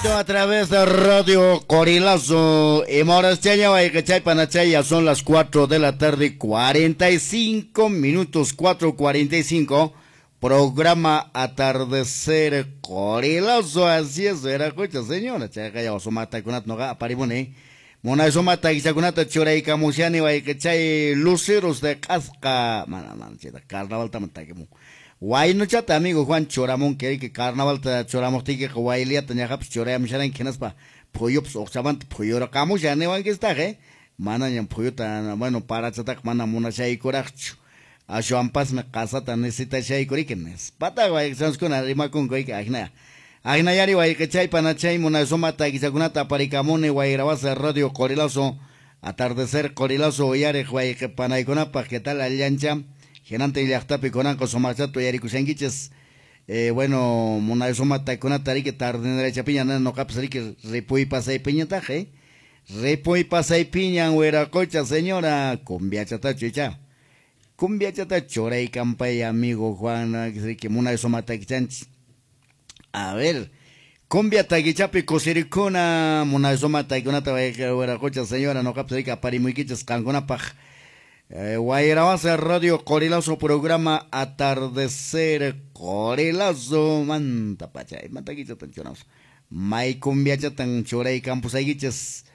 A través de Radio Qorilazo y Morascheña, ya son las 4 de la tarde, 45 minutos, 4:45, programa Atardecer Qorilazo, así es, era cocha, señora, chayqa sumatakunata noqa aparimuni, munay sumata kichakunata churaykamushani wayqichay luceros de q'asqa, mana mana chayta carnavalta takimun. Waynuchata amigo Juan churamunki que carnavalta churamuqtiykiqa wayliata ñaqapis churayamusharanki hinaspa phuyupas uqchamanta phuyurqamushan niwankistaq, manañam phuyuta, bueno, parachataqa mana munashaykuraqchu, ashwanpasmi qasata necesitashaykuriki nispataq wayqichanchikuna rimakunku ajina. Ajinayari wayqichay panachay munay suma takichakunata aparikamuni Wayrawasa Radio Qorilazo, Atardecer Qorilazo uyariq wayqi panaykunapaq, ¿qué tal allancha? Hinantin llaqtapi kunanqa sumaqchata uyarikushankichis. Bueno, munay suma takikunata riki tardinerachapiña noqapas riki ripuy pasaypiñataq, ripuy pasaypiñan wiraqocha señora, cumbiachatachu icha, cumbiachata churaykampay amigo Juan, riki munay suma takichanchis. A ver, cumbia takichapi kusirikuna munay suma takikunata wiraqocha señora noqapas riki aparimuykichis qankunapaq. Wayrawasa Radio Qorilazo, programa Atardecer Qorilazo, manta pachay, manta kichatan churamos, may cumbiachatan churay campusaykichis.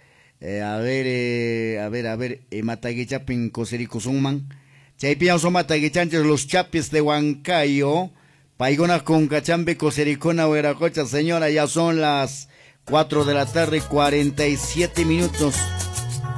A ver, a ver, a ver, imatakichapin kusirikusunman, chaypiñan sumatakichanchis los chapis de Huancayo, paykuna kunkachampi kusirikuna wiraqocha señora, ya son las 4 de la tarde, 47 minutos.